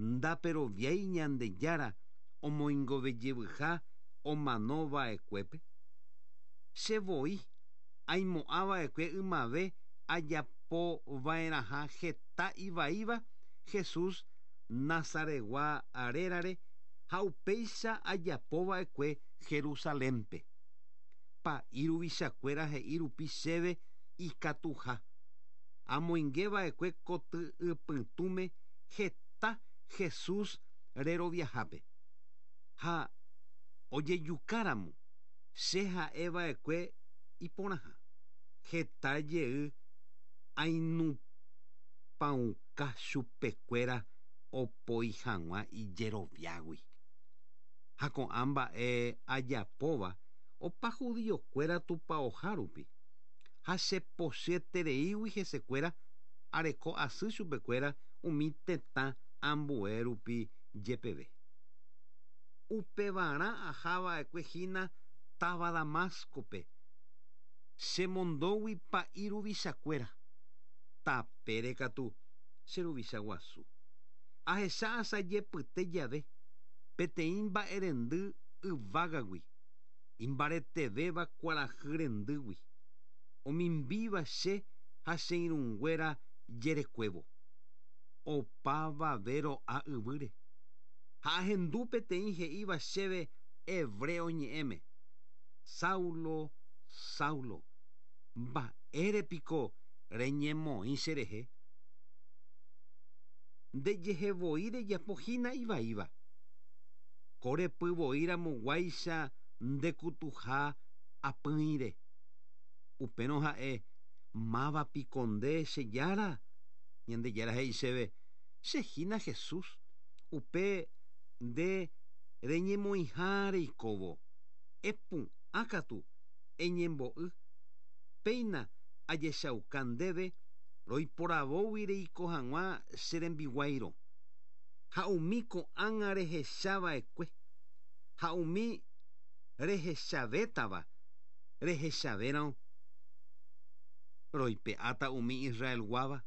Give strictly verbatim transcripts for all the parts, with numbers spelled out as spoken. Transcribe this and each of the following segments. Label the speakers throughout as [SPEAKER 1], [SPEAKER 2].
[SPEAKER 1] Ndaperoviái Ñandejára omoingovejevyha omanova'ekuépe. Che voi aimo'ãva'ekue ymave ajapova'erãha heta ivaíva Jesús Nazaretgua rérare ha upéicha ajapova'ekue Jerusalénpe. Pa'i ruvichakuéra he'i rupi chéve ikatuha. Amoingeva'ekue koty'ypytũme heta Jesús reroviahápe. Ha ojejukáramo che ha'eva'ekue iporãha. Heta jey ainupãuka chupekuéra opoi hag̃ua ijeroviágui. Ha ko'ã mba'e ajapóva opa judiokuéra tupãoha rupi. Ha chepochyetereígui hesekuéra areko asy chupekuéra umi tetã ambue rupi jepeve. Upevarã ahava'ekue hína táva Damascope. Chemondógui pa'i ruvichakuéra. Tapére katu che ruvicha guasu. Ahecha asajepyte jave peteĩ mba'erendy yvágagui imbaretevéva kuarahy rendýgui. Omimbíva che ha che irũnguéra jerekuévo. Opavave ro'a yvýre. Ha ahendu peteĩ he'íva chéve hebreo ñe'ẽme. Saulo, Saulo, mba'érepiko reñemoĩ cherehe. Ndejehevoi rejapohína ivaíva. Korepyvoíramoguáicha ndekutuha apỹire. Upérõ ha'e mávapiko nde che Jára. Ñandejára he'i chéve chehína Jesús upe nde reñemoĩha reikóvo. Epu'ãkatu eñembo'y. Péina ajechauka ndéve roiporavógui reiko hag̃ua che rembiguáirõ. Ha umi ko'ág̃a rehechava'ekue. Ha umi rehechavétava rehechavérõ roipe'áta umi Israelguáva.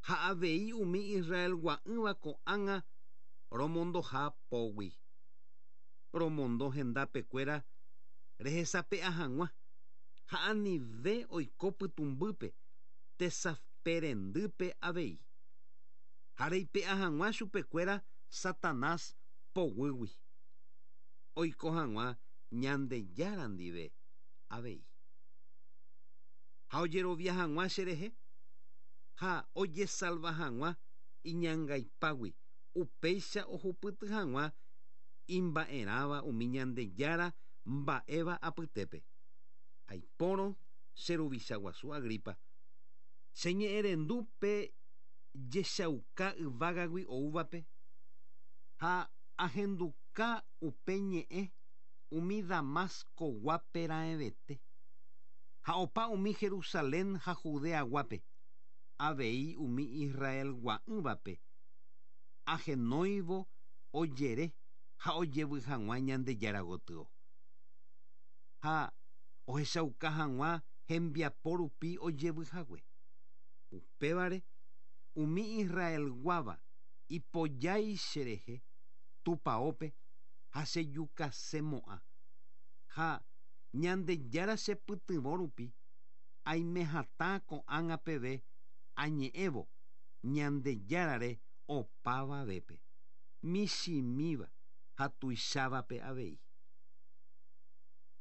[SPEAKER 1] Ha avei umi Israelgua'ỹva ko'ág̃a romondoha pógui. Romondo hendapekuéra rehesape'a hag̃ua. Ha anive oiko pytũmbýpe tesaperendýpe avei. Ha reipe'a hag̃ua chupekuéra Satanás poguýgui. Oiko hag̃ua Ñandejára ndive avei. Ha ojerovia hag̃ua cherehe. Ha ojesalva hag̃ua iñangaipágui upéicha ohupyty hag̃ua imba'erãva umi Ñandejára mba'éva apytépe. Aipórõ che ruvicha guasu Agripa. Cheñe'ẽrendu pe jechauka yvágagui oúvape. Ha ahenduka upe ñe'ẽ umi Damascoguápe raẽvete. Ha opa umi Jerusalén ha Judeaguápe. Avei umi Israelgua'ỹvape. Ahenóivo ojere ha ojevy hag̃ua Ñandejára gotyo. Ha ohechauka hag̃ua hembiapo rupi ojevyhague. Upévare umi Israelguáva ipojái cherehe tupãópe ha chejukasemo'ã. Ha Ñandejára chepytyvõ rupi aime hatã ko'ág̃a peve añe'ẽvo Ñandejárare opavavépe. Michĩmíva ha tuichávape avei.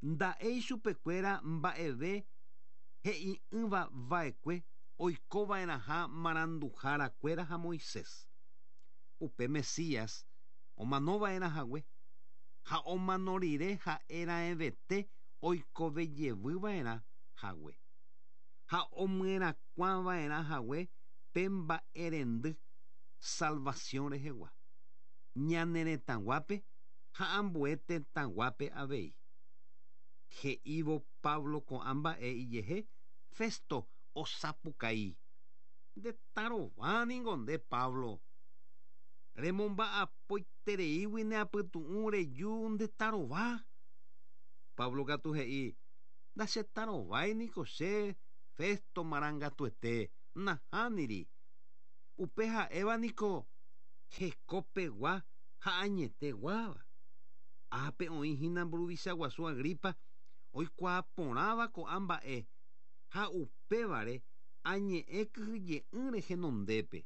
[SPEAKER 1] Nda'éi chupekuéra mba'eve he'i'ỹva'ekue oikova'erãha maranduharakuéra ha Moisés. Upe Mesías omanova'erãhague ha omano rire ha'e raẽvete oikovejevyva'erã hague. Ha omyerakuãva'erãhague pe mba'erendy salvación rehegua. Ñane retãguápe ha ambue tetãguápe avei. He'ívo Pablo ko'ã mba'e ijehe Festo osapukái. Ndetarováningo nde Pablo. Remomba'apoitereígui ne apytu'ũ reju ndetarova. Pablo katu he'i ndachetarováiniko che Festo marangatuete nahániri. Upe ha'éva niko Hekopegua ha añeteguáva. Ápe oĩ hína mburuvicha guasu Agripa oikuaaporãva ko'ã mba'e ha upévare añe'ẽ kyhyje'ỹre henondépe.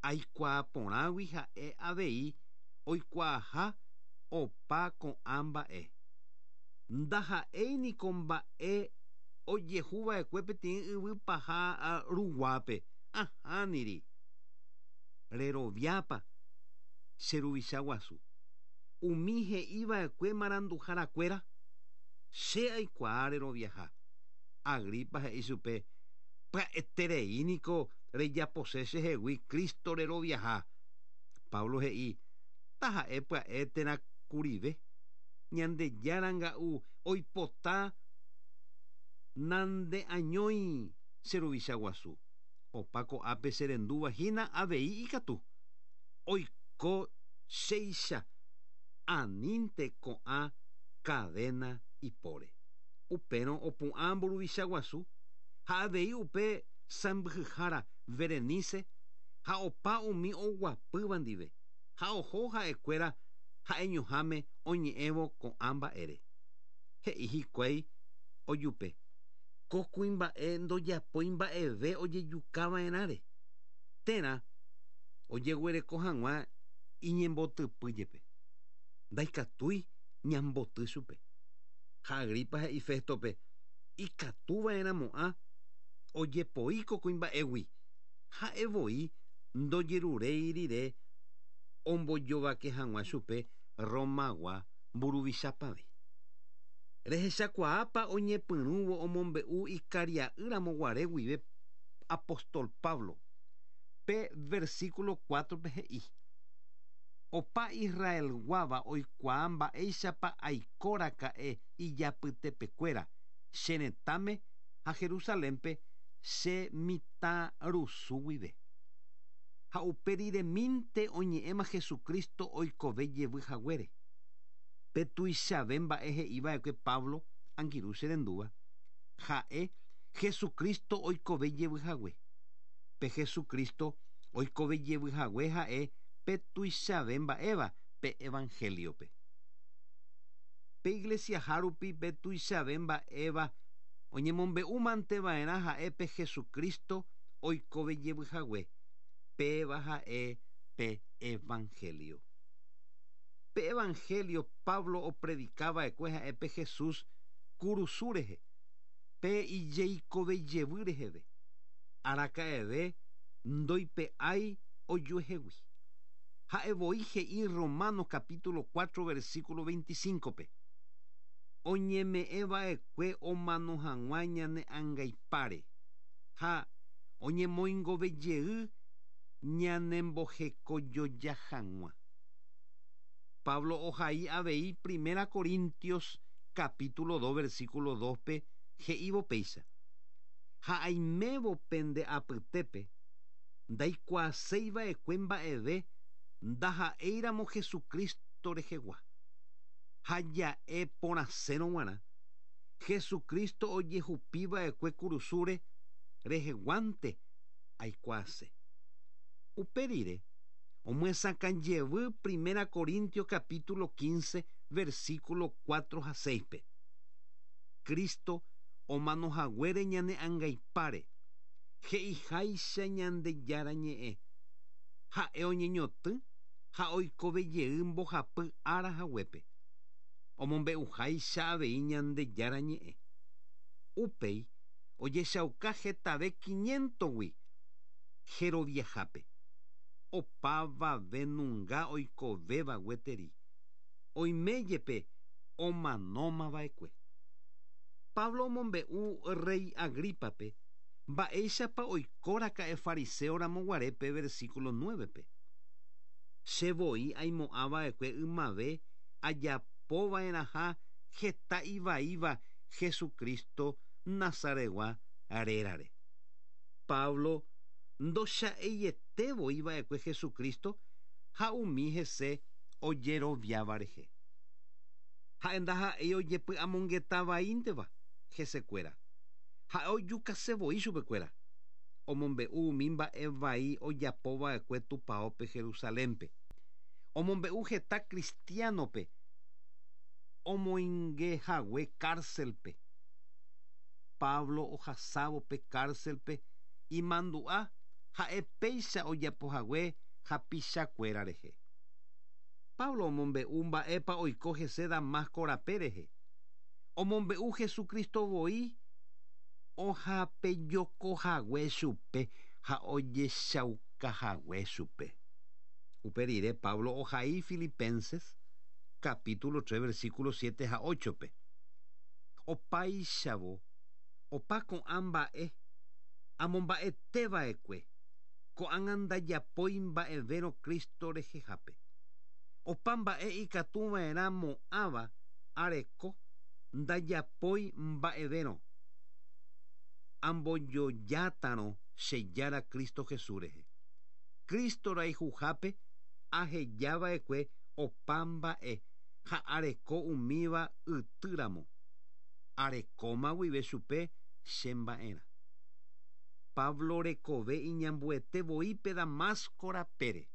[SPEAKER 1] Aikuaaporãgui ha'e avei oikuaaha opa ko'ã mba'e. Ndaha'éiniko mba'e ojehuva'ekue peteĩ yvypaha ruguápe. Ahániri. Reroviápa che ruvicha guasu. Umi he'iva'ekue maranduharakuéra che aikuaa reroviaha. Agripa he'i chupe pya'etereíniko rejapose chehegui Cristo reroviaha. Pablo he'i taha'e pya'e térã kurive. Ñandejára oipota nandeañói che ruvicha guasu. Opa ko'ápe cherendúva hína avei ikatu. Oiko chéicha anínte ko'ã cadena ipóre. Upérõ opu'ã mburuvicha guasu ha avei upe sãmbyhyhára Berenice ha opa umi oguapýva ndive ha oho ha'ekuéra ha'eñoháme oñe'ẽvo ko'ã mba'ére. He'i hikuái ojupe. Ko kuimba'e ndojapói mba'eve ojejukava'erãre. Térã ojeguereko hag̃ua iñembotypy jepe. Ndaikatúi ñamboty chupe. Ha Agripa he'i Féstope ikatuva'erãmo'ã ojepoi ko kuimba'égui. Ha'evoi ndojeruréi rire ombojovake hag̃ua chupe Romagua mburuvichapave. Rehechakuaápa oñepyrũvo omombe'u ikaria'ýramo guare guive apóstol Pablo. Pe versículo cuatro-pe he'i. Opa Israelguáva oikuaa mba'éichapa aikoraka'e ijapytepekuéra che retãme ha Jerusalénpe che mitãrusu guive. Ha uperiremínte oñe'ẽma Jesucristo oikove jevy haguére. Pe tuichave mba'e he'iva'ekue Pablo angirũ cherendúva. Ha'e Jesucristo oikove jevy hague. Pe Jesucristo oikove jevy hague ha'e pe tuichave mba'éva pe evangeliope. Pe iglesia rupi pe tuichave mba'éva oñemombe'úmanteva'erã ha'e pe Jesucristo oikove jevy hague. Péva ha'e pe evangelio. Pe evangelio Pablo opredicava'ekue ha'e pe Jesús kurusu rehe. Pe ijeikove jevy reheve. Araka'eve ndoipe'ái ojuehegui. Ha'evoi he'i Romanos capítulo cuatro versículo veinticinco-pe. Oñeme'ẽva'ekue omano hag̃ua ñane angaipáre ha oñemoingovejey ñanembohekojoja hag̃ua. Pablo ohai avei Primera Corintios capítulo dos versículo dos-pe he'ívo péicha. Ha aimévo pende apytépe ndaikuaaseiva'ekue mba'eve ndaha'éiramo Jesucristo rehegua. Ha ja'e porãsérõ g̃uarã Jesucristo ojehupiva'ekue kurusúre reheguánte aikuaase. Upe rire omyesakãjevy Primera Corintios capítulo quince versículo cuatro ha seis-pe. Cristo omanohaguére ñane angaipáre he'iháicha Ñandejára ñe'ẽ. Ha'e oñeñotỹ ha oikovejey mbohapy ára haguépe. Omombe'uháicha avei Ñandejára ñe'ẽ. Upéi ojechauka hetave quinientogui jeroviahápe. Opavave nunga oikovéva gueteri. Oiméjepe omanómava'ekue. Pablo omombe'u rey Agripape mba'éichapa oikóraka'e fariseoramo guarépe versículo nueve-pe. Chevoi aimo'ãva'ekue ymave ajapova'erãha heta ivaíva Jesucristo Nazaretgua rérare. Pablo ndocha'eietevoi Jesucristo ha umi hese ojeroviáva rehe. Ha'e ndaha'éi ojepy'amongetavaínteva hesekuéra. Ha'e ojukasevoi chupekuéra. Omombe'u umi mba'e vai ojapova'ekue tupaópe Jerusalénpe. Omombe'u heta cristianope omoingehague cárcelpe. Pablo ohasávo pe cárcelpe imandu'a ha'e péicha ojapohague hapichakuéra rehe. Pablo omombe'u mba'épa oiko hese Damasco rape rehe. Omombe'u Jesucristo voi ohapejokohague chupe ha ojechaukahague chupe. Upe rire Pablo ohai Filipenses capítulo tres versículo siete ha ocho-pe. Opáichavo opa ko'ã mba'e amomba'eteva'ekue ko'ág̃a ndajapói mba'evérõ Cristo rehehápe. Opa mba'e ikatuva'erã mo'ãva areko ndajapói mba'evérõ. Ambojojátarõ chejára Cristo Jesús rehe. Cristo rayhuhápe ahejava'ekue opa mba'e ha areko umíva ytýramo. Arekóma guive chupe che mba'erã. Pablo rekove iñambuete voi pe Damasco rapére.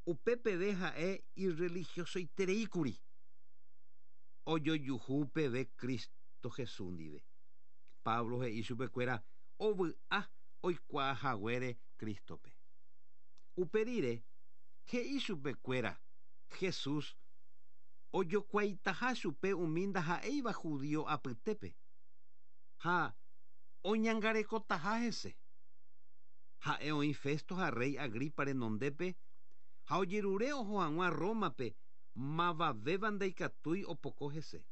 [SPEAKER 1] Upépeve ha'e irreligiosoitereíkuri. Ojojuhu peve Cristo Jesús ndive. Pablo he'i chupekuéra ovy'a oikuaahaguére Cristope. Upe rire he'i chupekuéra Jesús ojokuaitaha chupe umi ndaha'éiva judío apytépe ha oñangarekotaha hese. Ha'e oĩ Festo ha rey Agripa renondépe ha ojerure oho hag̃ua Rómape mavavéva ndaikatúi opoko hese.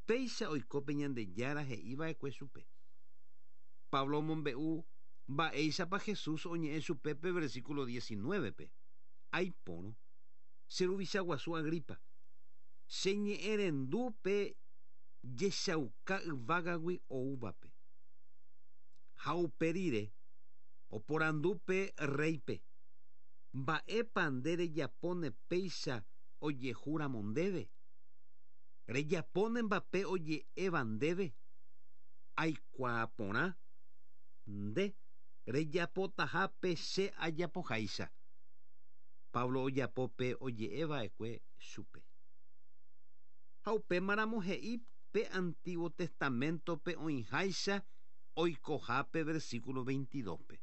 [SPEAKER 1] Péicha oiko pe Ñandejára he'iva'ekue chupe. Pablo omombe'u mba'éichapa Jesús oñe'ẽ chupe pe versículo diecinueve-pe. Aipórõ che ruvicha guasu Agripa che ñe'ẽrendu pe jechauka yvágagui oúvape. Ha upe rire oporandu pe reype mba'épa nde rejapóne péicha ojehúramo ndéve. Rejapóne mba'e oje'éva ndéve. Aikuaa porã nde rejapotaha pe che ajapoháicha. Pablo ojapo pe oje'eva'ekue chupe. Ha upémaramo he'i pe Antiguo Testamento-pe oĩháicha oikohápe versículo veintidós-pe.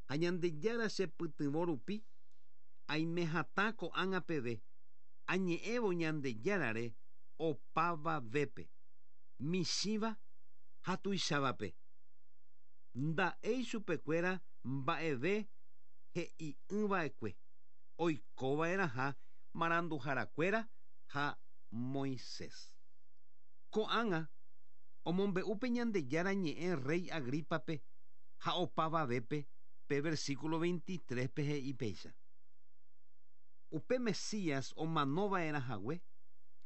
[SPEAKER 1] Ha Ñandejára chepytyvõ rupi aime hatã ko'ág̃a peve añe'ẽvo Ñandejárare opavavépe michĩva ha tuichávape. Nda'éi chupekuéra mba'eve he'i'ỹva'ekue oikova'erãha maranduharakuéra ha Moisés. Ko'ág̃a omombe'u pe Ñandejára ñe'ẽ rey Agripape ha opavavépe pe versículo veintitrés-pe he'i péicha. Upe Mesías omanova'erãhague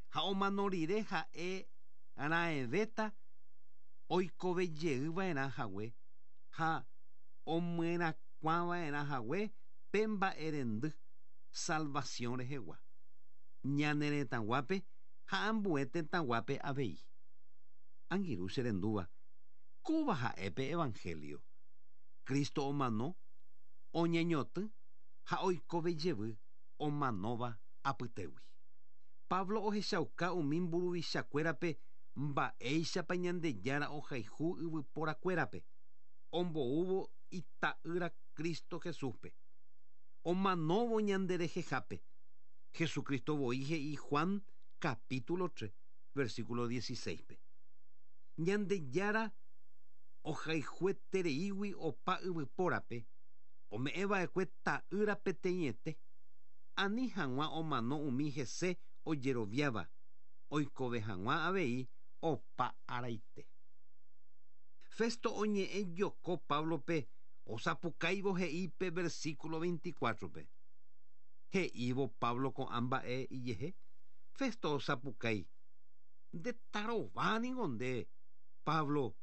[SPEAKER 1] ha omano rire ha'e raẽvéta oikovejeyva'erãhague ha omyerakuãva'erãhague pe mba'erendy salvación rehegua. Ñane retãguápe ha ambue tetãguápe avei. Angirũ che rendúva, kóva ha'e pe Evangelio. Cristo omano, oñeñotỹ ha oikovejevy omanóva apytégui. Pablo ohechauka umi mburuvichakuérape mba'éichapa Ñandejára ohayhu yvyporakuérape omboúvo ita'ýra Cristo Jesúspe. Omanóvo ñanderehehápe. Jesucristo voi he'i Juan capítulo tres, versículo dieciséis-pe. Ñandejára ohayhuetereígui opa yvypórape ome'ẽva'ekue ta'ýra peteĩete ani hag̃ua omano umi hese ojeroviáva oikove hag̃ua avei opa araite. Festo oñe'ẽ joko Pablope osapukáivo he'i pe versículo veinticuatro-pe. He'ívo Pablo ko'ã mba'e ijehe, Festo osapukái nde tarováningo nde Pablo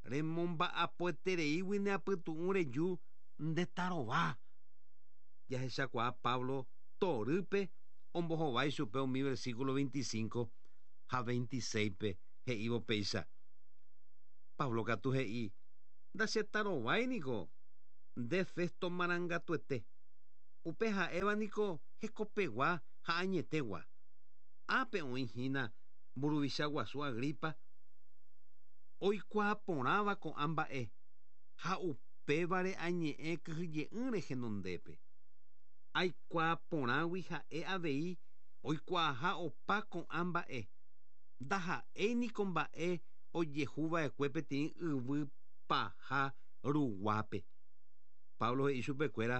[SPEAKER 1] remomba'apoetereígui ne apytu'ũ reju nde tarova. Jahechakuaa Pablo torýpe ombohovái chupe umi versículo veinticinco ha veintiséis-pe he'ívo péicha. Pablo katu he'i Ndachetarovái niko nde Festo marangatuete. Upe ha'éva niko hekopegua ha añetegua. Ápe oĩhína mburuvicha guasu Agripa oikuaa porãva ko'ã mba'e ha upévare añe'ẽ kyhyje'ỹre henondépe. Aikuaa porãgui ha'e avei oikuaaha opa ko'ã mba'e. Ndaha'éi niko mba'e ojehuva'ekue peteĩ yvy paha ruguápe. Pablo he'i chupekuéra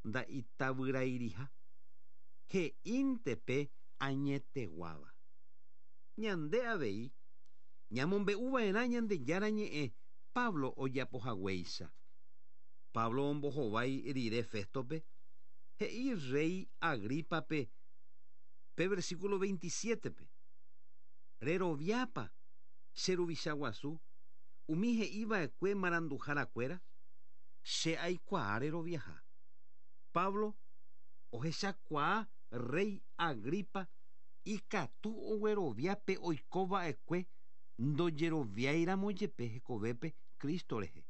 [SPEAKER 1] nda'itavyrairiha. He'íntepe añeteguáva. Ñande avei ñamombe'uva'erã Ñandejára ñe'ẽ Pablo ojapohaguéicha. Pablo ombohovái rire Féstope he'i rey Agripape pe versículo veintisiete-pe. Reroviápa che ruvicha guasu umi he'iva'ekue maranduharakuéra che aikuaa reroviaha. Pablo ohechakuaa rey Agripa ikatu ogueroviápe oikova'ekue ndojeroviáiramo jepe hekovépe Cristo rehe.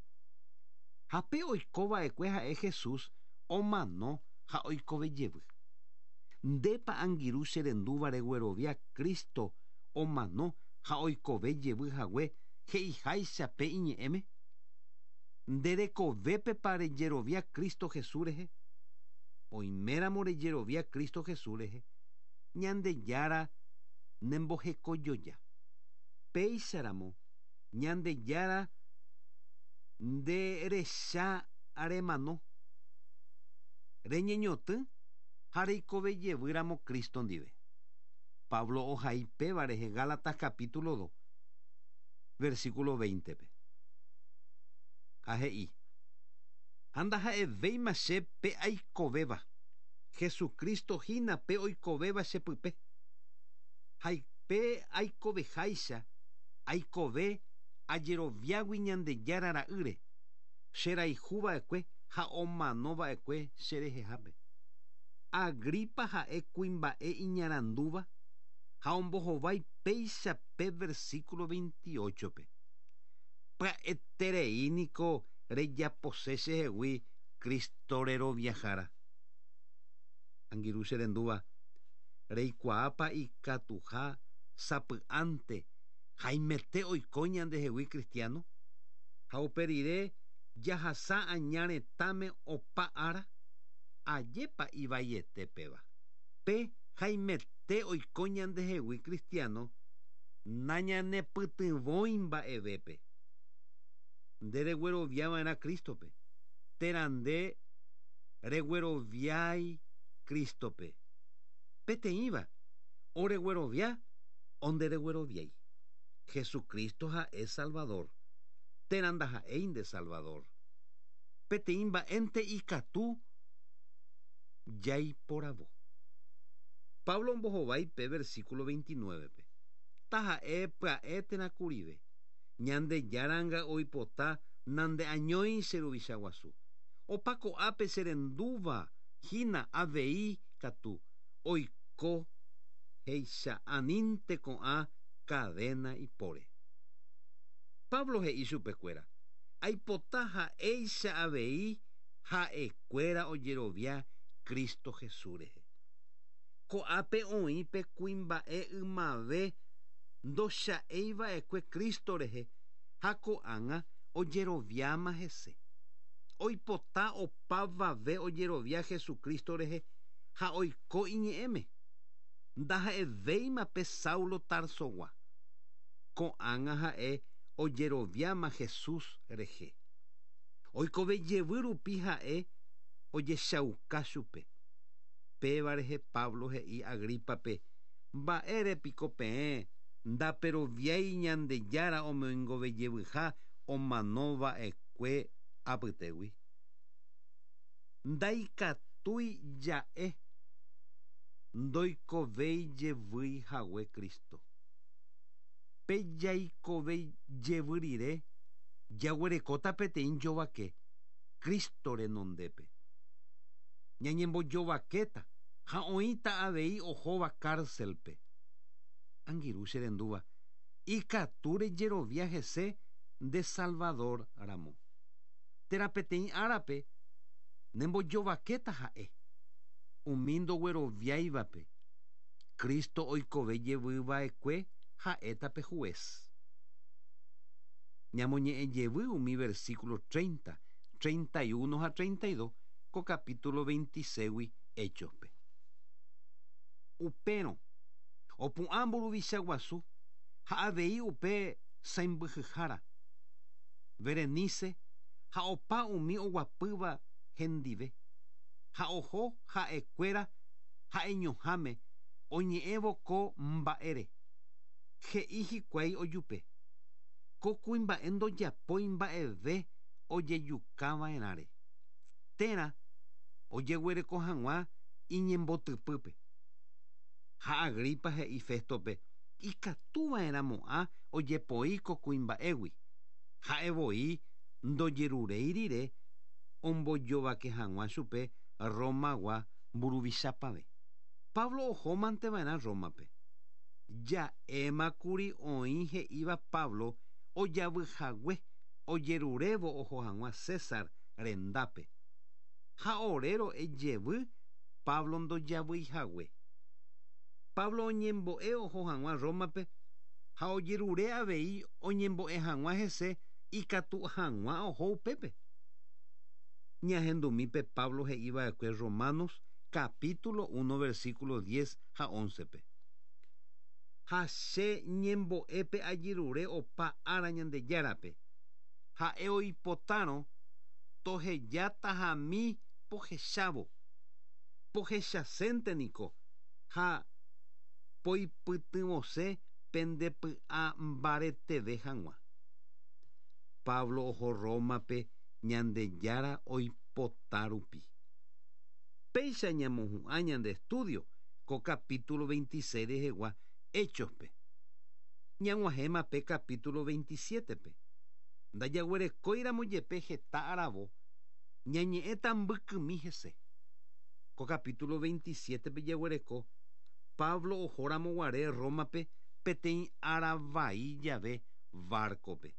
[SPEAKER 1] Ha pe oikova'ekue ha'e Jesús omano ha oikove jevy. Ndépa angirũ che rendúva reguerovia Cristo omano ha oikove jevy hague he'iháicha pe iñe'ẽme. Nde rekovépepa rejerovia Cristo Jesús rehe. Oiméramo rejerovia Cristo Jesús rehe. Ñandejára nembohekojoja. Péicharamo Ñandejára nde recha remano. Reñeñotỹ ha reikove jevýramo Cristo ndive. Pablo ohai péva rehe Gálatas capítulo dos, versículo veinte-pe. Ha he'i: Ha ndaha'evéima che pe aikovéva. Jesucristo hína pe oikovéva chepype. Ha pe aikoveháicha aikove ajeroviágui Ñandejára ra'ýre. Cherayhuva'ekue ha omanova'ekue cherehehápe. Agripa ha'e kuimba'e iñarandúva ha ombohovái péicha pe versículo veintiocho-pe. Pya'eterei niko rejapose chehegui Cristo reroviahára. Angirũ che rendúva reikuaápa ikatuha sapy'ánte haimete oiko ñandehegui cristiano ha upe rire jahasa aña retãme opa ára ajépa ivaiete péva. Pe haimete oiko ñandehegui cristiano nañanepytyvõi mba'evépe. Nde regueroviava'erã Cristo-pe térã nde regueroviái Cristo-pe. Peteĩva oreguerovia o nderegueroviái. Jesucristo ha'e Salvador térã ndaha'éi nde Salvador. Peteĩ mba'énte ikatu jaiporavo. Pablo ombohovái pe versículo veintinueve-pe. Taha'e pya'e térã kurive. Ñandejáranga oipota nandeañói che ruvicha guasu. Opa ko'ápe che rendúva hína avei katu oiko he'icha anínte ko'ã cadena ipóre. Pablo he'i chupekuéra aipota ha'éicha avei ha'ekuéra ojerovia Cristo Jesús rehe. Ko'ápe oĩ pe kuimba'e ymave ndocha'eiva'ekue Cristo rehe ha ko'ág̃a ojeroviáma hese. Oipota opavave ojerovia Jesucristo rehe ha oiko iñe'ẽme. Ndaha'evéima pe Saulo Tarsogua. Ko'ág̃a ha'e ojeroviáma Jesús rehe. Oikove jevy rupi ha'e ojechauka chupe. Péva rehe Pablo he'i Agripape mba'érepiko peẽ ndaperoviái Ñandejára omoingovejevyha omanova'ekue apytégui. Ndaikatúi ja'e ndoikovéi jevýi hague Cristo. Pe jaikove jevy rire jaguerekóta peteĩ jovake Cristo renondépe. Ñañembojovakéta ha oĩta avei ohóva cárcel-pe. Angirũ che rendúva ikatu rejerovia hese nde Salvador ramo. Térã peteĩ árape nembojovakéta ha'e. Umi ndogueroviáivape. Cristo oikove jevyva'ekue ha'éta pe juez. Ñamoñe'ẽ jevy umi versículo treinta, treinta y uno ha treinta y dos ko capítulo veintiséigui Hechospe. Upérõ opu'ã mburuvicha guasu ha avei upe sãmbyhyhára Berenice ha opa umi oguapýva hendive ha oho ha'ekuéra ha'eñoháme oñe'ẽvo ko mba'ére. He'i hikuái ojupe. Ko kuimba'e ndojapói mba'eve ojejukava'erãre. Térã ojeguereko hag̃ua iñembotypýpe. Ha Agripa he'i Féstope ikatuva'erãmo'ã ojepoi ko kuimba'égui. Ha'evoi ndojeruréi rire ombojovake hag̃ua chupe Romagua mburuvichapave. Pablo ohómanteva'erã Rómape. Ja'émakuri oĩ he'íva Pablo ojavyhague ojerurévo oho hag̃ua César rendápe. Ha ore ro'e jevy Pablo ndojavyihague. Pablo oñembo'e oho hag̃ua Rómape ha ojerure avei oñembo'e hag̃ua hese ikatu hag̃ua oho upépe. Ñahendumípe Pablo he'iva'ekue Romanos capítulo uno versículo diez ha once-pe. Ha che ñembo'épe ajerure opa ára Ñandejárape. Ha'e oipotárõ tohejátahami pohechávo. Pohechasente niko ha poipytyvõse pendepy'a mbareteve hag̃ua. Pablo oho Rómape Ñandejára oipota rupi. Péicha ñamohu'ã ñande estudio ko capítulo veintiséis rehegua Hechospe. Ñag̃uahẽma pe capítulo veintisiete-pe. Ndajaguerekóiramo jepe heta aravo ñañe'ẽta mbykymi hese. Ko capítulo veintisiete-pe jaguereko Pablo ohóramo guare Rómape peteĩ ára vai jave barco-pe.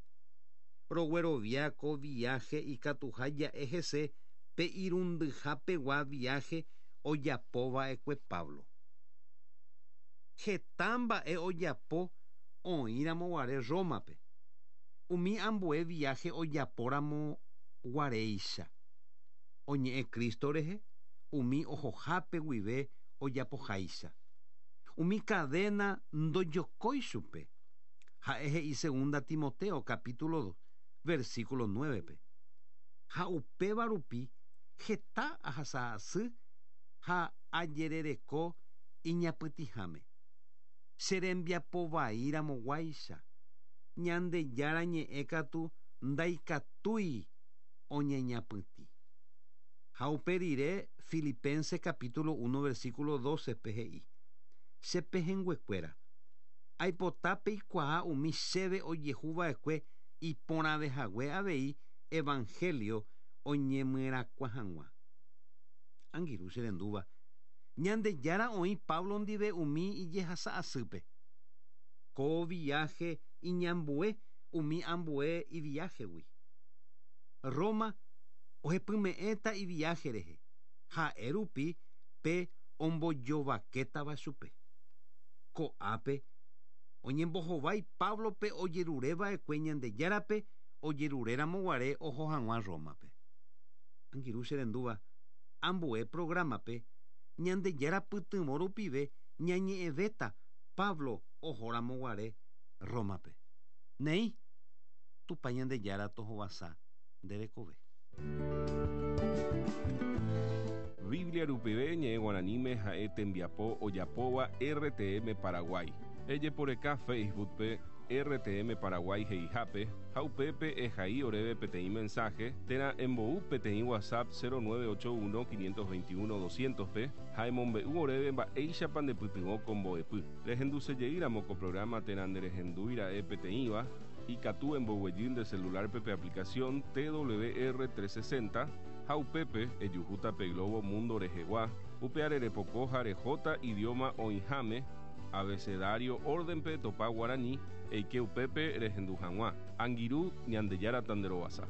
[SPEAKER 1] Roguerovia ko viaje ikatuha ja'e hese pe irundyhapegua viaje ojapova'ekue Pablo. Heta mba'e ojapo oĩramo guare Rómape. Umi ambue viaje ojapóramo guaréicha. Oñe'ẽ Cristo rehe umi ohohápe guive ojapoháicha. Umi cadena ndojokói chupe. Ha'e he'i segunda Timoteo capítulo dos versículo nueve-pe. Ha upéva rupi heta ahasa'asy ha ajerereko iñapytĩháme. Che rembiapovaíramoguáicha. Ñandejára ñe'ẽ katu ndaikatúi oñeñapytĩ. Ha upe rire Filipenses capítulo uno versículo doce-pe he'i. Che pehẽnguekuéra. Aipotápe ikuaa umi chéve ojehuva'ekue iporãvehague avei evangelio oñemyerakuã hag̃ua. Angirũ che rendúva. Ñandejára oĩ Pablo ndive umi ijehasa'asýpe. Ko viaje iñambue umi ambue iviájegui. Roma ohepyme'ẽta iviaje rehe. Ha'e rupi pe ombojovakétava chupe. Ko'ápe oñembohovái Pablope ojerureva'ekue Ñandejárape ojeruréramo guare oho hag̃ua Rómape. Angirũ che rendúva ambue programape Ñandejára pytyvõ rupive ñañe'ẽvéta Pablo ohóramo guare Rómape. Néi, Tupã Ñandejára tohovasa nde rekove.
[SPEAKER 2] Biblia rupive ñe'ẽ guaraníme ha'e tembiapo ojapóva R T M Paraguay. Ejeporeka Facebook-pe R T M Paraguay he'ihápe ha upépe ehai oréve peteĩ mensaje térã embou peteĩ WhatsApp cero nueve ocho uno quinientos veintiuno doscientos-pe ha emombe'u oréve mba'éichapa ndepytyvõ ko mbo'epy. Rehendusejeýramo ko programa térã nderehendúira'e peteĩva ikatu emboguejy nde celular-pe pe aplicación T W R trescientos sesenta ha upépe ejuhúta pe Globo Mundo rehegua upe arerepoko ha rehóta idioma oĩháme abecedario orden-pe topa guarani eike upépe rehendu hag̃ua. Angirũ Ñandejára tanderovasa.